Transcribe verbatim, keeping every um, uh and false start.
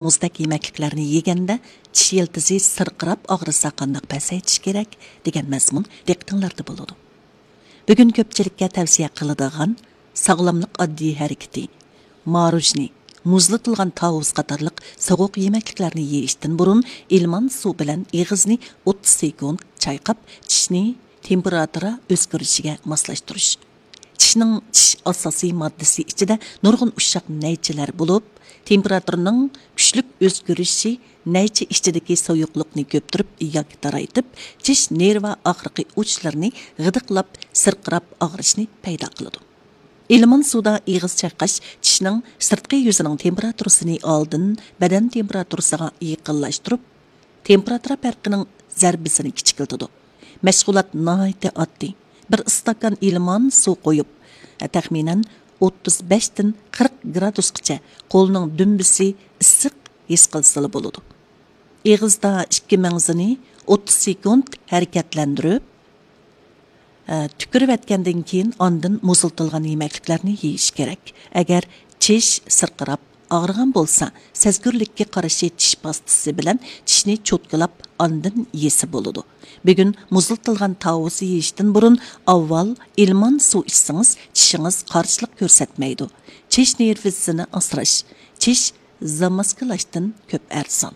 مۇزدەك يېمەكلىكلەرنى يېگەندە چىش يىلتىزى سىرقىراپ ئاغرىسا قانداق پەسەيتىش كېرەك دېگەن مەزمۇن دىققىتىڭلاردا بولىدۇ. بۈگۈن كۆپچىلىككە تەۋسىيە قىلىدىغان ساغلاملىق ئاددىي ھەرىكىتى، ماروژنى، مۇزلىتىلغان تاۋۇز قاتارلىق سوغۇق يېمەكلىكلەرنى يېيىشتىن بۇرۇن ئىلمان سۇ بىلەن ئېغىزنى ئوتتۇز سېكۇنت چايقاپ، چىشنى تېمپېراتۇرا ئۆزگىرىشىگە ماسلاشتۇرۇش. چىشنىڭ چىش ئاساسىي ماددىسى ئىچىدە نۇرغۇن ئۇششاق نەيچىلەر بولۇپ، تېمپېراتۇرىنىڭ كۈچلۈك ئۆزگىرىشى نەيچە ئىچىدىكى سۇيۇقلۇقنى كۆپتۈرۈپ ياكى تارايتىپ، چىش نېرۋا ئاغرىقى ئۇچلىرىنى غىدىقلاپ، سىرقىراپ ئاغرىشنى پەيدا قىلىدۇ. ئىلمان سۇدا ئېغىز چايقاش چىشنىڭ سىرتقى يۈزىنىڭ تېمپېراتۇرىسىنى ئالدىن بەدەن تېمپېراتۇرىسىغا يېقىنلاشتۇرۇپ، تېمپېراتۇرا پەرقىنىڭ زەربىسىنى كىچىكلىتىدۇ. مەشغۇلات ناھايىتى ئاددىي. بىر ئىستاكان ئىلمان سۇ قويۇپ، تەخمىنەن ئوتتۇز بەشتىن قىرىق گرادۇسقىچە قولنىڭ دۈمبىسى ئىسسىق ھېس قىلسىلا بولىدۇ. ئېغىزدا ئىككى مەڭزىنى ئوتتۇز سېكۇنت ھەرىكەتلەندۈرۈپ، ئە، تۈكۈرۈۋەتكەندىن كېيىن ئاندىن مۇزلىتىلغان يېمەكلىكلەرنى يېيىش كېرەك. ئەگەر چىش سىرقىراپ ئاغرىغان بولسا، سەزگۈرلۈككە قارشى چىش پاستىسى بىلەن چىشنى چوتكىلاپ ئاندىن يېسە بولىدۇ. بۈگۈن مۇزلىتىلغان تاۋۇز يېيىشتىن بۇرۇن ئاۋۋال ئىلمان سۇ ئىچسىڭىز، چىشىڭىز قارشىلىق كۆرسەتمەيدۇ. چىش نېرۋىسىنى ئاسراش، چىش زاماسكىلاشتىن كۆپ ئەرزان.